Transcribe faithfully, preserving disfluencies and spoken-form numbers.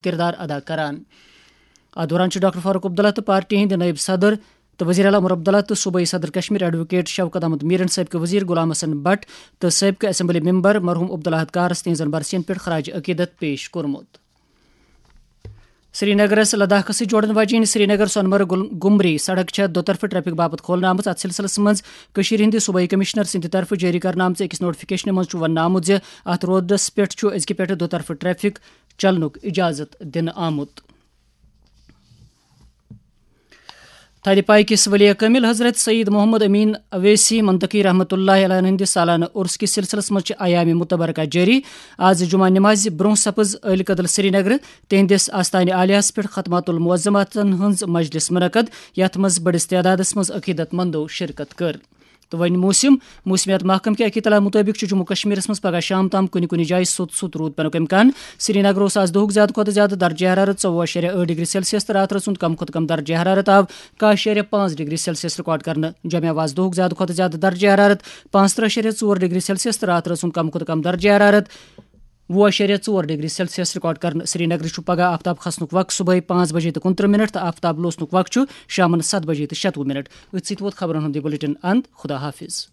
کردار ادا کران۔ اتھ دوران چھُ ڈاکٹر فاروق عبداللہ تہٕ پارٹی ہٕنٛدۍ نٲیِب صدر تہٕ وزیر اعلیٰ عمر عبداللہ تہٕ صوبٲئی صدر کشمیر ایڈووکیٹ شوکت احمد میرن، سٲبقہٕ وزیر غلام حسن بٹ تہٕ سٲبقہٕ اسمبلی ممبر مرحوم عبداللہ کارس تِہنٛزن برسین پٮ۪ٹھ خراج عقیدت پیش کوٚرمُت۔ سرینگرس لداخس سۭتۍ جوڑن واجیٚنۍ سرینگر سۄنمرگ گل-، گمری سڑک چھےٚ دۄطرفہٕ ٹریفک باپتھ کھولنہٕ آمٕژ۔ اتھ سلسلس منٛز کٔشیٖرِ ہٕنٛدِ صوبٲئی کمشنر سٕنٛدِ طرفہٕ جٲری کرنہٕ آمژٕ أکِس نوٹیفکیشنہِ منٛز چھُ وننہٕ آمُت زِ اتھ روڈس پٮ۪ٹھ چھُ أزکہِ پٮ۪ٹھٕ دۄطرفہٕ ٹریفک چلنُک اجازت دِنہٕ آمُت۔ تھدِ پایہِ کِس ولی کٲمِل حضرت سید محمد امین اویسی منطقی رحمتہ اللہ علیہ ہٕنٛدِ سالانہٕ عرس کِس سلسلس منٛز چھِ ایام متبرکہ جٲری۔ آز جمعہ نمازِ برونٛہہ سپٕز عٲلۍ کدل سرینگر تِہنٛدِس آستانہِ عالیہس پٮ۪ٹھ ختمات المعظماتن ہٕنٛز مجلس منعقد، یتھ منٛز بٔڑِس تعدادس منٛز عقیدت مندو شرکت کٔر۔ تہٕ وۄنۍ موسم۔ موسمیات محکمہٕ کہِ اطلاع مُطٲبِق چھُ جموں کشمیرس منٛز پگہہ شام تام کُنہِ کُنہِ جایہِ سوٚت سوٚت روٗد پینُک امکان۔ سرینگرٕ اوس آز دۄہُک زیادٕ کھۄتہٕ زیادٕ درجہ حرارت ژوٚوُہ اَشاریہ ٲٹھ ڈگری سیلسیس تہٕ راتھ رٲژ ہُنٛد کم کھۄتہٕ کم درجہ حرارت آو کاہ اَشاریہ پانٛژھ ڈگری سیلسیس ریکارڈ کرنہٕ۔ جمعہ اوس آز دۄہُک زیادٕ کھۄتہٕ زیادٕ درجہ حرارت پانٛژترٕہ اَشاریہ ژور ڈگری سیلسیس تہٕ راتھ رٲژ ہُنٛد کم کھۄتہٕ کم درجہ حرارت وُہ اَشاریہ ژور ڈگری سیلسیس ریکارڈ کرنہٕ۔ سرینگرٕ چھُ پگہہ آفتاب کھسنُک وقت صبحٲے پانٛژھ بجے تہٕ کُنترٕہ منٹ تہٕ آفتاب لوسنُک وقت چھُ شامن ستھ بجے تہٕ شتوُہ منٹ۔ أتھۍ سۭتۍ ووت خبرن ہُنٛد یہِ بُلٹن اند۔ خدا حافظ۔